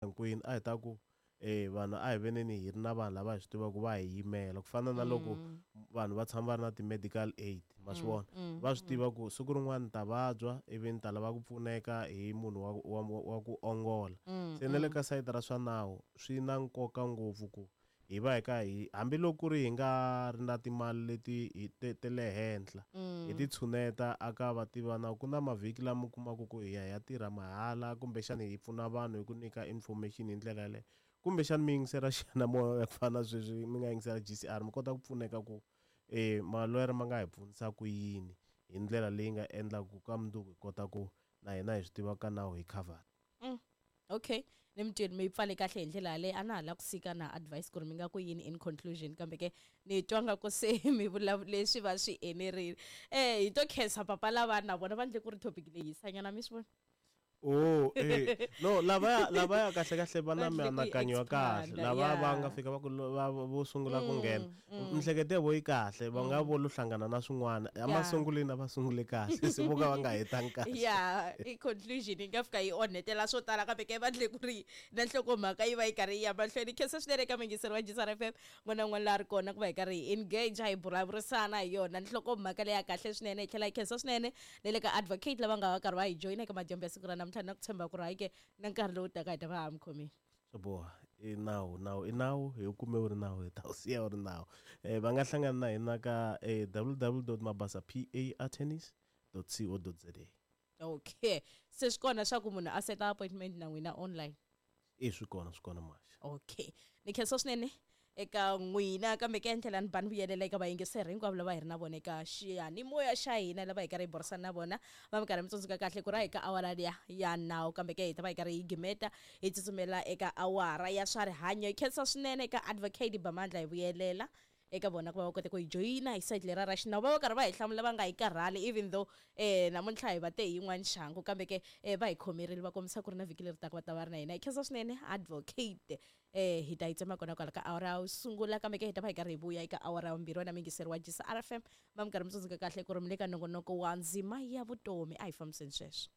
Hinkwenu a hi ta ku vanhu a hi veneni hi ri na vanhu lava hi swi tivaka va hi yimela ku fana na loko vanhu va tshama va ri na ti-medical aid ma swi vona va swi tiva ku siku rin'wana ni ta vabya ivi ni ta lava ku pfuneka hi munhu wa ku ongola. Se na le ka sayiti ra swa nawu swi na nkoka ngopfu ku hi va hi ka hi hambiloko ku ri hi nga ri na timali leti hi te te le henhla hi ti tshuneta aka vativi va nawu. Ku na mavhiki lama u kumaka ku hi ya hi ya tirha mahala kumbexana hi pfuna vanhu hi ku nyika information hi ndlela yaleyo kumbexana mi yingisela xiyanimoya ku fana na sweswi mi nga yingisela G_C_R mi kota ku pfuneka ku maloyara ma nga hi pfunisa ku yini hi ndlela leyi nga endlaka ku ka mundzuku hi kota ku na hina hi swi tiva ka nawu hi covered. Okay, ni mi twile mi yi pfale kahle hi ndlela yaleyo. A na ha la ku sika na advice ku ri mi nga ku yini in conclusion, kambe ke ni twa nga ku se mi vulavule swi va swi enerile. Hi to khensa papa lava na vona va ndle ku ri topic leyi hisanyana mi swi vona. Oh, no lavaya lavaya kahle kahle va na Va endle ku yi mianakanyo ya kahle expanda, lava va yeah. nga fika va ku va vo sungula ku nghena miehleketo ya vo yi kahle va nga vo lo hlangana na swin'wana emasungulweni a va sungule kahle se vo ka va nga hetangi kahle. Ya i conclusion yi nga fika yi onhetela swo tala kambe ke va ndle ku ri na nhlokomhaka yi va yi karhi yi ya mahlweni. Khensa swinene eka muyingiseri wa G_C_R F_M n'wana na un'wana laha a ri kona ku va hi karhi hi engage hi vulavurisana hi yona nhlokomhaka leya kahle swinene. Hi tlhela hi khensa swinene na le ka advocate lava nga va karhi va hi joyina eka madyambu ya siku ra namuntlha na ku tshemba ku ri hayi ke na nkarhi lowu taka hi ta va ha mi khomile. Swo boha i nawu nawu i nawu hi wu kume wu ri nawu hi ta wu siya wu ri nawu. Va nga hlangana na hina ka www dot mabasa p a attorneys dot co dot za. Okay, se swi kona swa ku munhu a seta appointment na n'wina online? E swi kona swi kona muhaxi. Okay, ni khensa swinene eka n'wina kambe ke ndlela ni ba ni vuyelela eka vayingiseri hinkwavo lava hi ri na vona eka xiyanimoya xa hina lava hi karhi hi burisana na vona va mi karhi mi tsundzuka kahle ku ri a hi ka awara liya ya nawu kambe ke hi ta va hi karhi hi gimeta hi tsutsumela eka awara ya swa rihanyo. Hi khensa swinene eka advocate Bamandla hi vuyelela eka vona ku va va kota ku hi joyina hi side lera ra xinawu va va karhi va hi hlamula va nga hi karhali even though namuntlha hi va te hi yin'wana xangu kambe ke va hi khomerile va kombisa ku ri na vhiki leri taka va ta va ri na hina. Hi khensa swinene advocate hi ta yi tsema kona kwala ka awara yo sungula kambe ke hi ta va hi karhi hi vuya eka awara ya vumbirhi wena muyingiseri wa G_C_R F_M va mi karhi mi tsundzuka kahle ku ri mi le ka nongonoko wa ndzima ya vutomi a hi fambiseni sweswo.